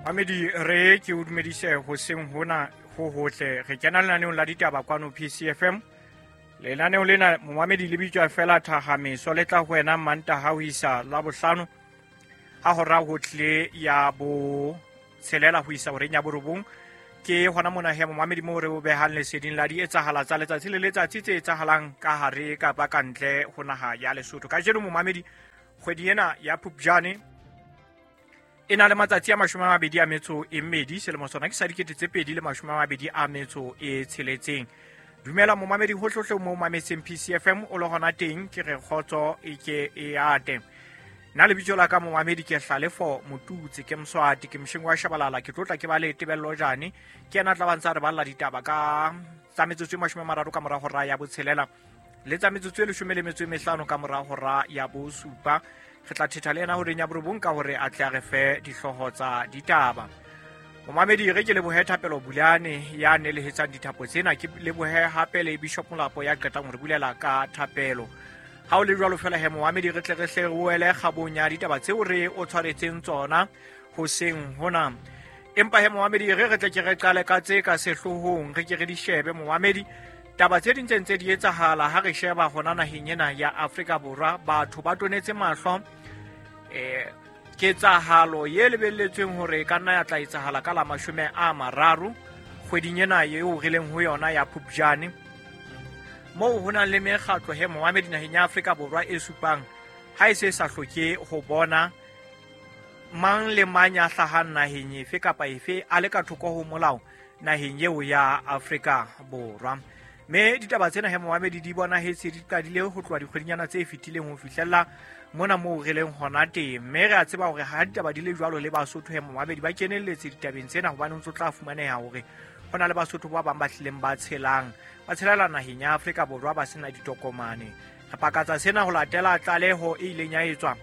Mamedi re ke o dumedise hoseng hona ho hotle. Re kena lenaneong la ditaba kwano PCFM. Lenaneo lena momamedi le bitswa fela Thahameso, le tla ho wena Mantaha ho isa Labohlano ha hora ho tlile ya bo tshelela ho isa horeng ya borobong. Ke hona mona he momamedi moo re o behang leseding la di etsahala tsa letsatsi le letsatsi tse etsahalang ka hare kapa ka ntle ho naha ya Lesotho. Kajeno momamedi, kgwedi ena ya Phupjane e na le matsatsi a 24, selemo sona ke sa 2026. Dumela momamedi hohlohle mo mametseng PCFM o le hona teng, ke re kgotso e ke e ate. Nna lebitso la ka momamedi ke Hlalefo Motutse, ke Mswati, ke mosheng wa Shabalala, ke tlotla ke ba le Tebello Jane, ke ena tla bantsa re balla ditaba ka tsa metsotso e 30 ka mora hora ya botshelela le tsa metsotso e 15 ka mora hora ya bosupa. Re tla thetha le ena horeng ya borobong ka hore a tle a re fe dihlooho tsa ditaba. Momamedi re ke lebohe Thapelo Bulane ya nelehetsang dithapo tsena, ke lebohe hape le Bishop Molapo ya qetang ho re bulela ka thapelo. Ha o le jwalo fela he momamedi, re tle re hle re wele kgabong ya ditaba tseo re o tshwaretseng tsona hoseng hona. Empa he momamedi, re tle ke re qale ka tse ka sehloohong, re ke re di shebe momamedi. Taba tse ding tse ntse di etsahala ha re sheba hona naheng ena ya Afrika Borwa, batho ba tonetse mahlo ketsahalo ye lebelletsweng hore e ka nna ya tla etsahala ka la 30 kgweding ena eo re leng ho yona ya Phupjane, moo ho nang le mekgatlo he momamedi naheng ya Afrika Borwa e supang ha e se sa hloke ho bona mang le mang ya hlahang naheng efe kapa efe a le ka thoko ho molao naheng eo ya Afrika Borwa. Mme ditaba tsena he momamedi di bonahetse di qadile ho tloha dikgwedinyana tse fetileng ho fihlella mona moo re leng hona teng. Mme re a tseba hore ha ditaba di le jwalo le Basotho he momamedi ba kenelletse ditabeng tsena, hobane o ntso tla fumaneha hore ho na le Basotho ba bang ba hlileng ba tshelang ba tshelela naheng ya Afrika Borwa ba sena ditokomane. Re pakatsa sena ho latela tlaleho e ileng ya etswa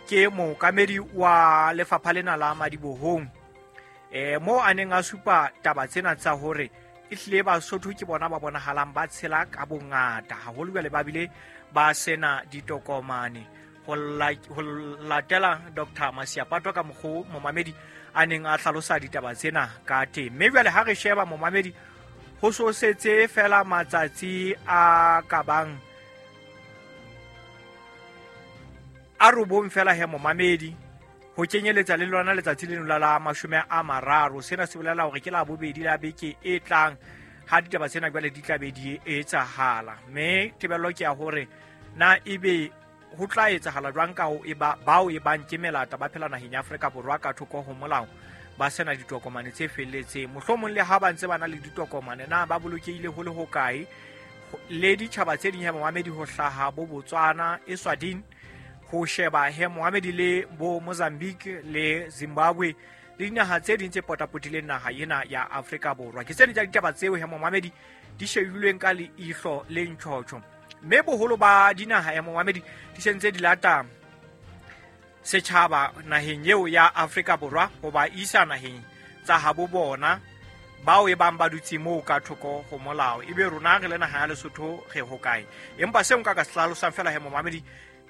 ke mookamedi wa lefapha lena la madibohong, moo a neng a supa taba tsena tsa hore e hlile Basotho ke bona ba bonahalang ba tshela ka bongata haholo jwale ba bile ba sena ditokomane. Ho latela Dr. Masiapato ka mokgo momamedi a neng a hlalosa ditaba tsena ka teng. Mme jwale ha re sheba momamedi, ho so setse fela matsatsi a ka bang a 9 fela he momamedi, ho kenyeletsa le lona letsatsi leno la 30. Sena se bolela hore ke la bobedi la beke e tlang ha ditaba tsena jwale di tla be di etsahala. Mme tebello ke ya hore na ebe ho tla etsahala jwang ka ho eba bao e bang ke melata ba phela naheng ya Afrika Borwa ka thoko ho molao ba sena ditokomane tse felletseng, mohlomong le ha ba ntse ba na le ditokomane na ba bolokehile ho le hokae. Le ditjhaba tse ding he momamedi, ho hlaha bo Botswana, Eswatini, ho sheba he momamedi le bo Mozambique le Zimbabwe le dinaha tse ding tse potapotileng naha ena ya Afrika Borwa. Ke tse ding tsa ditaba tseo he momamedi di shebilweng ka leihlo le ntjhotjho. Mme boholo ba dinaha ya momamedi di sentse di lata setjhaba naheng eo ya Afrika Borwa ho ba isa naheng tsa habo bona bao e bang ba dutse moo ka thoko ho molao. Ebe rona re le naha ya Lesotho re hokae? Empa seo nka ka se hlalosang fela he momamedi,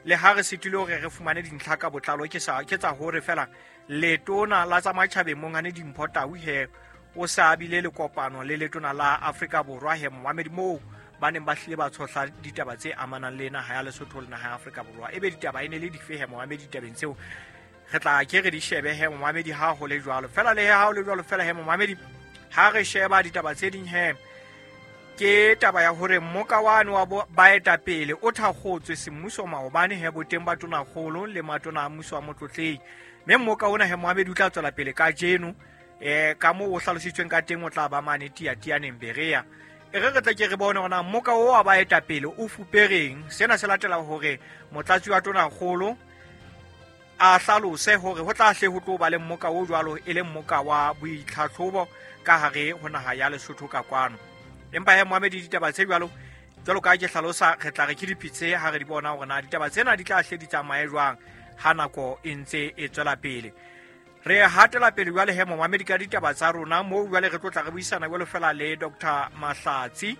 le ha re sitile hore re fumane dintlha ka botlalo, ke tsa hore fela letona la tsa matjhabeng Monghane Dimpho Tau he o sa bile le kopano le letona la Afrika Borwa he momamedi, moo ba neng ba hlile ba tshohla ditaba tse amanang le naha ya Lesotho le naha ya Afrika Borwa. Ebe ditaba e ne le dife he momamedi ditabeng tseo? Re tla ke re di shebe he momamedi ha ho le jwalo fela. Le ha ho le jwalo fela he momamedi, ha re sheba ditaba tse ding he, ke taba ya hore mmoka wane wa baetapele o thakgotswe semmuso maobane he boteng ba tonakgolo le matona a mmuso wa motlotlei. Mme mmoka ona he momamedi o tla tswela pele kajeno, ka moo o hlalositsweng ka teng o tla ba mane Tiatianeng Berea. E re re tle ke re bone hore na mmoka o wa baetapele o fupereng. Sena se latela hore motlatsi wa tonakgolo a hlalose hore ho tla hle ho tlo ba le mmoka o jwalo e le mmoka wa boitlhatlhobo ka hare ho naha ya Lesotho ka kwano. Empa he momamedi, ditaba tse jwalo jwalo ka ke hlalosa, re tla re ke dipitse ha re di bona hore na ditaba tsena di tla hle di tsamaye jwang ha nako e ntse e tswela pele. Re hatela pele jwale he momamedi ka ditaba tsa rona, moo jwale re tlo tla re buisana jwalo fela le Dr. Mahlatsi.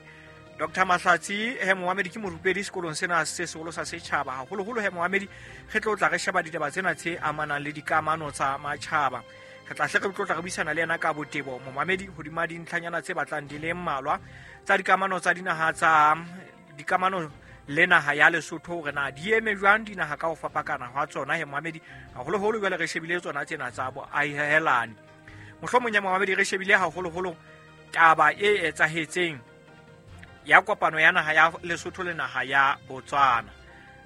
Dr. Mahlatsi he momamedi ke morupedi sekolong sena se seholo sa setjhaba, haholoholo he momamedi re tlo tla re sheba ditaba tsena tse amanang le dikamano tsa matjhaba. Re tla hle re tlotla re buisana le yena ka botebo momamedi hodima dintlhanyana tse batlang di le mmalwa tsa dikamano tsa dinaha tsa dikamano le naha ya Lesotho, hore na di eme jwang dinaha ka ho fapakana hwa tsona he momamedi, haholoholo jwale re shebile tsona tsena tsa boahelani. Mohlomong ya momamedi re shebile haholoholo taba e etsahetseng ya kopano ya naha ya Lesotho le naha ya Botswana.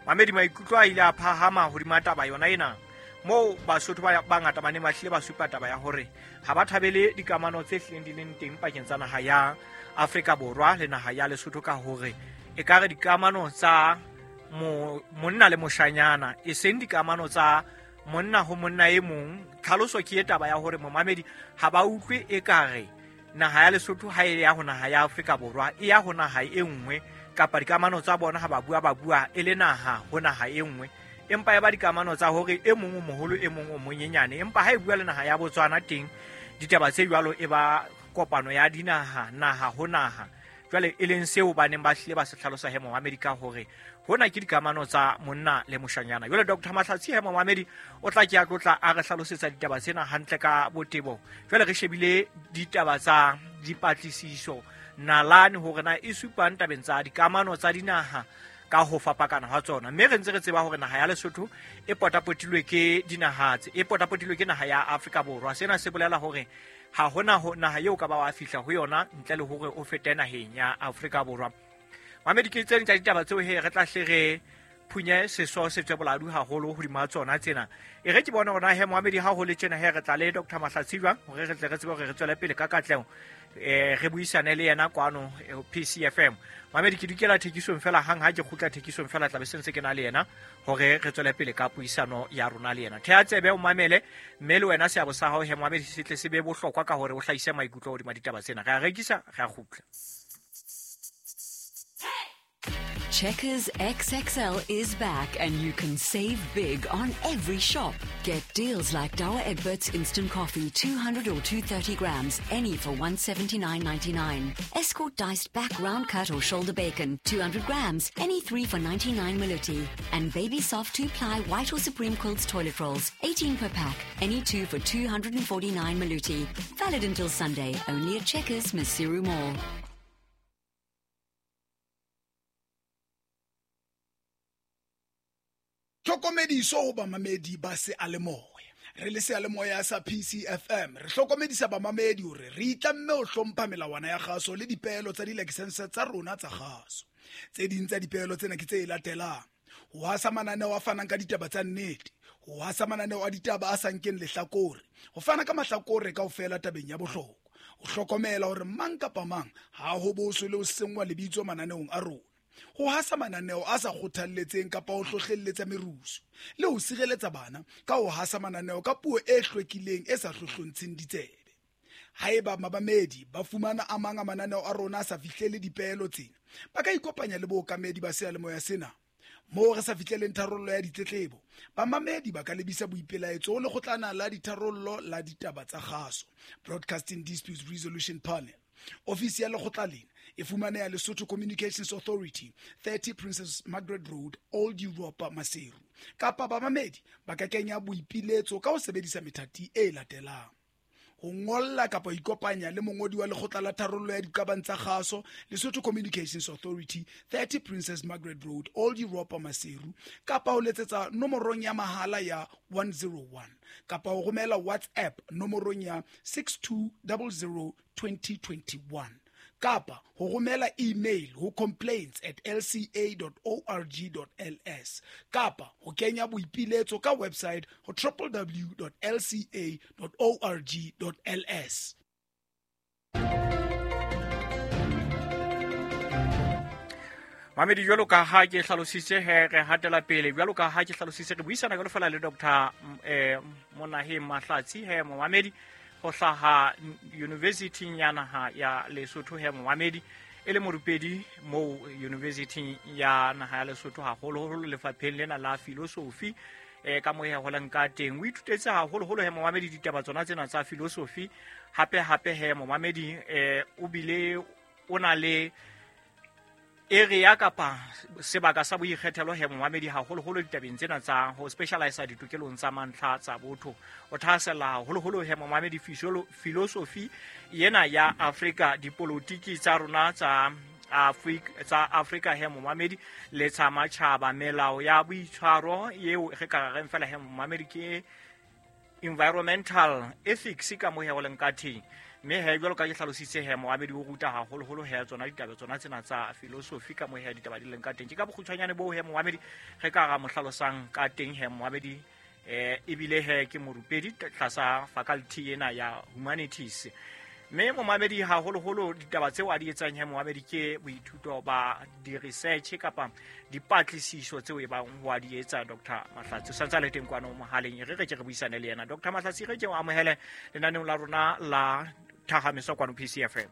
Mamedi, maikutlo a ile a phahama hodima taba yona ena, moo Basotho ba bangata ba neng ba hlile ba supa taba ya hore ha ba thabele dikamano tse hlileng di leng teng pakeng tsa naha ya Afrika Borwa le naha ya Lesotho, ka hore e ka re dikamano tsa monna le moshanyana, e seng dikamano tsa monna ho monna e mong. Tlhaloso ke e taba ya hore momamedi ha ba utlwe e ka re naha ya Lesotho ha e ya ho naha ya Afrika Borwa, e ya ho naha e nngwe, kapa dikamano tsa bona ha ba bua ba bua e le naha ho naha e nngwe, empa e ba dikamano tsa hore e mong o moholo e mong o monyenyane. Empa ha e bua le naha ya Botswana teng ditaba tse jwalo e ba kopano ya dinaha, naha ho naha. Jwale e leng seo ba neng ba hlile ba se hlalosa he momamedi ka hore hona ke dikamano tsa monna le moshanyana. Jwale Dr. Mahlatsi he momamedi o tla ke a tlotla a re hlalosetsa ditaba tsena hantle ka botebo. Jwale re shebile ditaba tsa dipatlisiso nalane hore na e supang tabeng tsa dikamano tsa dinaha ka ho fapakana hwa tsona, mme re ntse re tseba hore naha ya Lesotho e potapotilwe ke dinaha tse e potapotilwe ke naha ya Afrika Borwa. Sena se bolela hore ha hona ho naha eo ka ba wa fihla ho yona ntle le hore o fete naheng ya Afrika Borwa. Mamedi, ke tse ding tsa ditaba tseo he re tla hle re phunye seso se tswe boladu haholo hodima tsona tsena. E re ke bone hore na he moamedi ha ho le tjena he re tla le Dr. Mahlatsi jwang hore re tle re tsebe hore re tswele pele ka katleho, re buisane le yena kwano PCFM. Mamedi, ke dukela thekisong fela, hang ha ke kgutla thekisong fela tla be se ntse ke na le yena hore re tswele pele ka puisano ya rona le yena. Thea tsebe o mamele, mme le wena seabo sa hao he moamedi se tle se be bohlokwa ka hore o hlahise maikutlo hodima ditaba tsena. Re a rekisa, re a kgutla. Checkers XXL is back and you can save big on every shop. Get deals like Douwe Egberts Instant Coffee, 200 or 230 grams, any for 179.99. Escort diced back round cut or shoulder bacon, 200 grams, any 3 for 99 Maluti. And Baby Soft 2-ply white or Supreme Quilts toilet rolls, 18 per pack, any 2 for 249 Maluti. Valid until Sunday, only at Checkers, Maseru Mall. Tlhokomediso ho bamamedi ba seyalemoya. Re le seyalemoya sa PCFM, re hlokomedisa bamamedi hore re itlamme ho hlompha melawana ya kgaso le dipeelo tsa dilakesense tsa rona tsa kgaso. Tse ding tsa dipeelo tsena ke tse latelang: ho hasa mananeo a fanang ka ditaba tsa nnete, ho hasa mananeo a ditaba a sa nkeng lehlakore, ho fana ka mahlakore kaofela tabeng ya bohlokwa, ho hlokomela hore mang kapa mang ha ho boswe le ho senngwa lebitso mananeong a rona, ho hasa mananeo a sa kgothalletseng kapa ho hlohlelletsa merusu, le ho sireletsa bana ka ho hasa mananeo ka puo e hlwekileng e sa hlohlontsheng ditsebe. Haeba mabamedi ba fumana a mang a mananeo a rona a sa fihlele dipeelo tsena, ba ka ikopanya le bookamedi ba seyalemoya sena. Moo re sa fihleleng tharollo ya ditletlebo, bamamedi ba ka lebisa boipelaetso ho lekgotlana la ditharollo la ditaba tsa kgaso, Broadcasting Disputes Resolution Panel. Ofisi ya lekgotla lena e fumaneha Lesotho Communications Authority, 30 Princess Margaret Road, Old Europa, Maseru. Kapa bamamedi ba ka kenya boipiletso ka ho sebedisa methati e latelang: ho ngolla kapa ho ikopanya le mongodi wa lekgotla la tharollo ya diqabang tsa kgaso, Lesotho Communications Authority, 30 Princess Margaret Road, Old Europa, Maseru, kapa ho letsetsa nomorong ya mahala ya 101, kapa ho romela WhatsApp nomorong ya 6200 2021, kapa ho romela email ho complaints@lca.org.ls, kapa ho kenya boipiletso ka website ho www.lca.org.ls. Mamedi, jwalo ka ha ke hlalositse he re hatela pele, jwalo ka ha ke hlalositse re buisana jwalo fela le Dr. Monaheng Mahlatsi he momamedi ho hlaha University ya naha ya Lesotho he momamedi, e le morupedi moo University ya naha ya Lesotho, haholoholo lefapheng lena la philosophy. Ka moo he holang ka teng, o ithutetse haholoholo he momamedi ditaba tsona tsena tsa philosophy. Hape hape he momamedi, o bile o na le Area kapa sebaka sa boikgethelo he momamedi, haholoholo ditabeng tsena tsa ho specialisa ditokelong tsa mantlha tsa botho. O thahasella haholoholo he momamedi philosophy ena ya Afrika, dipolotiki tsa rona tsa Afrika, tsa Afrika he momamedi, le tsa matjhaba, melao ya boitshwaro eo re ka reng fela he momamedi ke environmental ethics ka mo he o leng ka teng. Mme he jwalo ka ke hlalositse he moamedi, o ruta haholoholo he tsona ditaba tsona tsena tsa philosophy ka mo he ditaba di leng ka teng. Ke ka bokgutshwanyane boo he moamedi re ka ra mo hlalosang ka teng he moamedi. Ebile he ke morupedi tlasa faculty ena ya humanities. Mme momamedi, haholoholo ditaba tseo a di etsang he momamedi ke boithuto ba di-research kapa dipatlisiso tseo e bang ho a di etsa. Dr Mahlatsi o santse a le teng kwano mohaleng, e re re ke re buisane le yena. Dr Mahlatsi, re ke o amohele lenaneong la rona la Thahamiso kwano PCFM.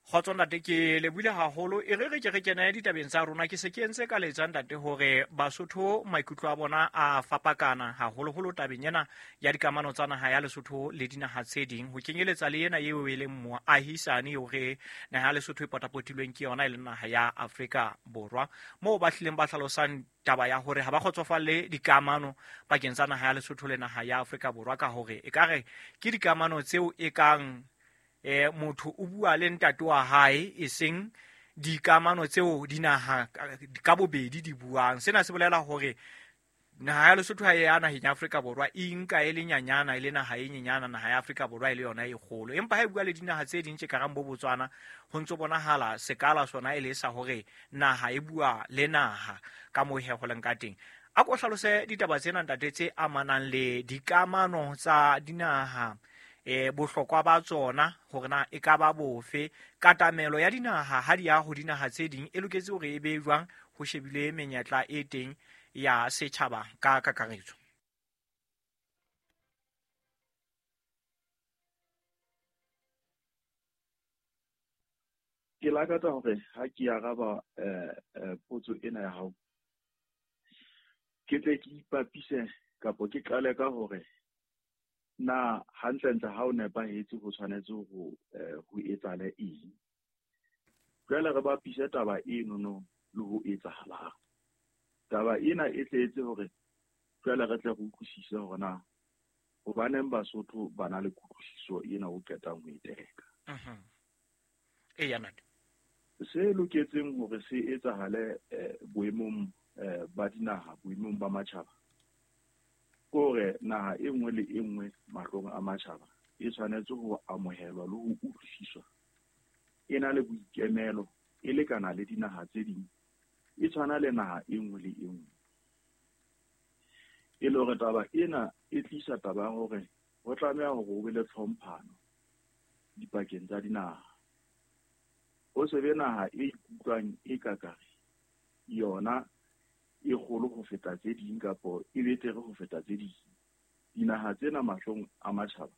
Kgotso ntate, ke lebohile haholo. E re re ke re kene ditabeng tsa rona. Ke se ke entse ka letsa ntate hore Basotho maikutlo a bona a fapakana haholoholo tabeng ena ya dikamano tsa naha ya Lesotho le dinaha tse ding, ho kenyeletsa le ena eo e leng moahisane eo re naha ya Lesotho e potapotilweng ke yona, e leng naha ya Afrika Borwa, moo ba hlileng ba hlalosang taba ya hore ha ba kgotsofalle dikamano pakeng tsa naha ya Lesotho le naha ya Afrika Borwa, ka hore ekare ke dikamano tseo e kang motho o bua le ntate wa hae, e seng dikamano tseo dinaha ka bobedi di buang. Sena se bolela hore naha ya Lesotho ha e ya naheng ya Afrika Borwa e nka e le nyanyana, e le naha e nyenyana, naha ya Afrika Borwa e le yona e kgolo. Empa ha e bua le dinaha tse ding tse karang bo Botswana, ho ntso bonahala sekala sona e le sa hore naha e bua le naha ka moo he ho leng ka teng. A ko hlalose ditaba tsena ntate tse amanang le dikamano tsa dinaha, bohlokwa ba tsona hore na e ka ba bofe, katamelo ya dinaha ha di ya ho dinaha tse ding e loketse hore e be jwang, ho shebile menyetla e teng ya setjhaba ka kakaretso. Ke lakatsa hore ha ke araba potso ena ya hao, ke tle ke ipapise kapo ke qale ka hore na hantlentle ha o nepahetse ho tshwanetse ho etsahale eng. Jwale re bapise taba enono le ho etsahalang. Taba ena e tle etse hore jwale re tle re utlwisise hore na hobaneng Basotho ba na le kutlwisiso ena o qetang ho e teka. Eya ntate. Se loketseng hore se etsahale boemong ba dinaha, boemong ba matjhaba, ke hore naha e nngwe le e nngwe mahlong a matjhaba e tshwanetse ho amohelwa le ho utlwisiswa e na le boikemelo, e lekana le dinaha tse ding, e tshwana le naha e nngwe le e nngwe. E le hore taba ena e tlisa taba ya hore ho tlameha hore ho be le tlhomphano dipakeng tsa dinaha. Ho se be naha e ikutlwang e kakare yona e kgolo ho feta tse ding kapo e betere ho feta tse ding. Dinaha tsena mahlong a matjhaba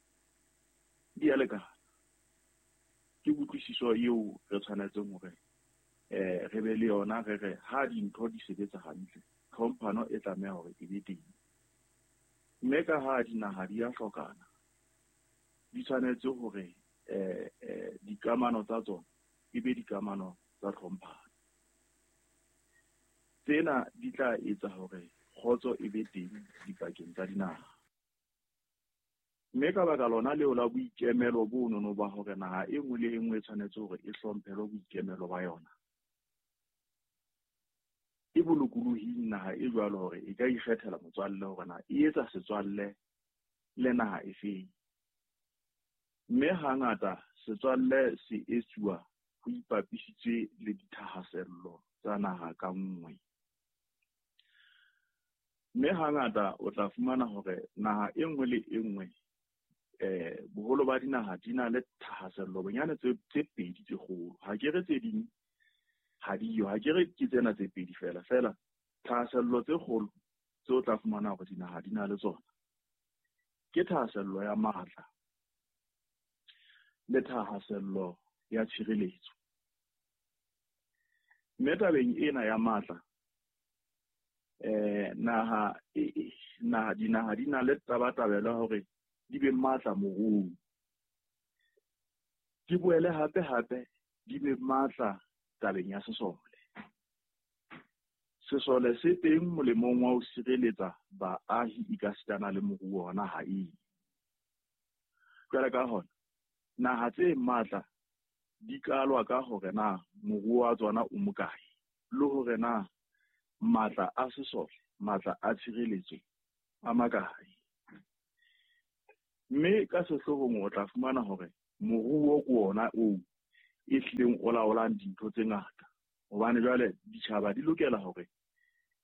di a lekana. Ke kutlwisiso eo re tshwanetseng hore re be le yona, re re ha dintho di sebetsa hantle, tlhomphano e tlameha hore e be teng. Mme ka ha dinaha di a hlokana, di tshwanetse hore dikamano tsa tsona e be dikamano tsa tlhomphano. Tsena di tla etsa hore kgotso e be teng dipakeng tsa dinaha. Mme ka baka lona leo la boikemelo bonono ba hore naha e nngwe le e nngwe e tshwanetse hore e hlomphelwe boikemelo ba yona, e bolokolohing naha e jwalo hore e ka ikgethela motswalle hore na e etsa setswalle le naha efeng. Mme hangata setswalle se etsuwa ho ipapisitswe le dithahasello tsa naha ka nngwe. Mme hangata o tla fumana hore naha e nngwe le e nngwe, boholo ba dinaha di na le thahasello bonyane tse pedi tse kgolo. Ha ke re tse ding ha diyo, ha ke re ke tsena tse pedi fela, fela thahasello tse kgolo tse o tla fumana hore dinaha di na le tsona ke thahasello ya matla le thahasello ya tshireletso. Mme tabeng ena ya matla, naha dinaha di na le tabatabelo ya hore di be matla moruong, di boele hape hape di be matla tabeng ya sesole. Sesole se teng molemong wa ho sireletsa baahi ekasitana le moruo wa naha eo. Jwale ka hona, naha tse matla di kalwa ka hore na moruo wa tsona o mokae, le hore na matla a sesole, matla a tshireletso a makae. Mme ka sehloohong o tla fumana hore moruo ke ona oo e hlileng o laolang dintho tse ngata. Hobane jwale ditjhaba di lokela hore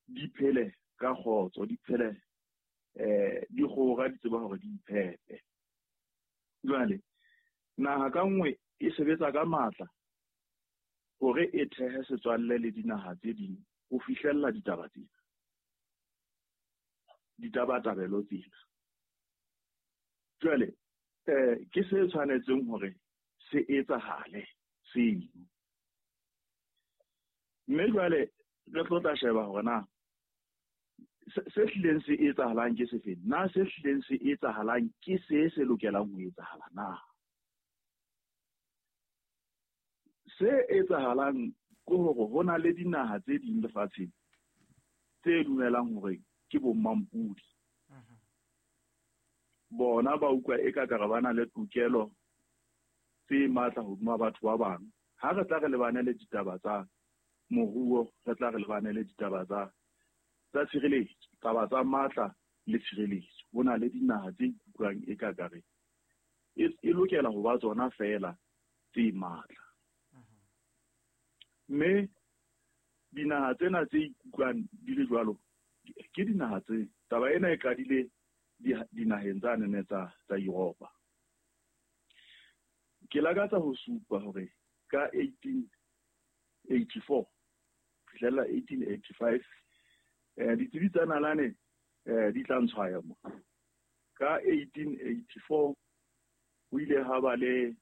di phele ka kgotso, di phele di kgora, di tseba hore di iphepe. Jwale naha ka nngwe e sebetsa ka matla hore e thehe setswalle le dinaha tse ding ho fihlella ditaba tsena, ditabatabelo tsena. Jwale ke se tshwanetseng hore se etsahale seo. Mme jwale re tlo tla sheba hore na se hlileng se etsahalang ke sefeng, na se hlileng se etsahalang ke se se lokelang ho etsahala na. Se etsahalang ke hore ho na le dinaha tse ding lefatsheng tse dumelang hore ke bo mmampudi. Bona ba utlwa eka ka re ba na le tokelo tse matla hodima batho ba bang. Ha re tla re lebane le ditaba tsa moruo, re tla re lebane le ditaba tsa tshireletso, taba tsa matla le tshireletso. Ho na le dinaha tse ikutlwang eka ka re e lokela ho ba tsona feela tse matla. Mme dinaha tsena tse ikutlwang di le jwalo ke dinaha tse taba ena e qadile dinaheng tsa nene tsa Europa. Ke lakatsa ho supa hore ka 1884 fihlela 1885 ditsebi tsa nalane di tla ntshwaya mo. Ka 1884 ho ile ha ba le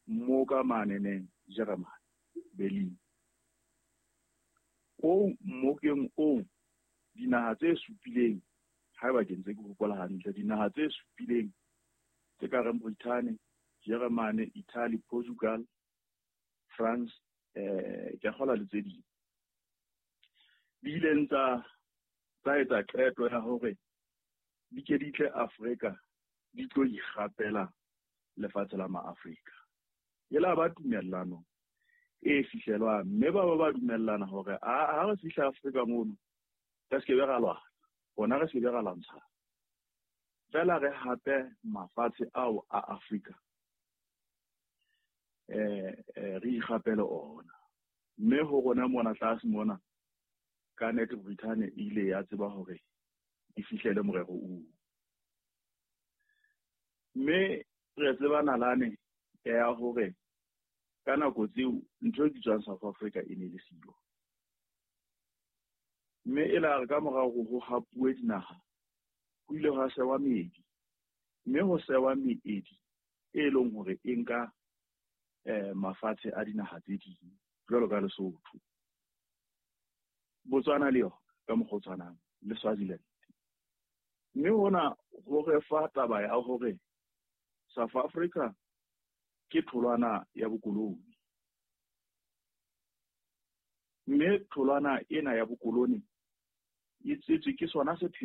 mmoka maneneng Jeremane, Berlin. O mmokeng oo dinaha tse supileng, haeba ke ntse ke hopola hantle, dinaha tse supileng tse ka reng Britain, Germany, Italy, Portugal, France, ke a kgolwa le tse ding, di ileng tsa etsa qeto ya hore di ke di tle Afrika di tlo ikgapela lefatshe la maAfrika. E la ba tumellano e fihlelwang, mme ba dumellana hore ha re fihla Afrika mono re se ke be ra lwana, rona re se ke be ra lwantshana, fela re hape mafatshe ao a Afrika re ikgapele ona. Mme ho rona mona tlase mona ka nnete Britain e ile ya tseba hore e fihlele morero oo. Mme re tseba nalane ya hore ka nako tseo ntho e bitswang South Africa e ne le siyo. Mme e la re ka morao ho hapuwe dinaha, ho ile hwa sewa meedi, mme ho sewa meedi e leng hore e nka mafatshe a dinaha tse ding jwalo ka Lesotho, Botswana le yona ka mokgwa o tshwanang le Swaziland. Mme hona ho re fa taba ya hore South Africa ke tholwana ya bokoloni, mme tholwana ena ya bokoloni e tswetswe ke sona sepheo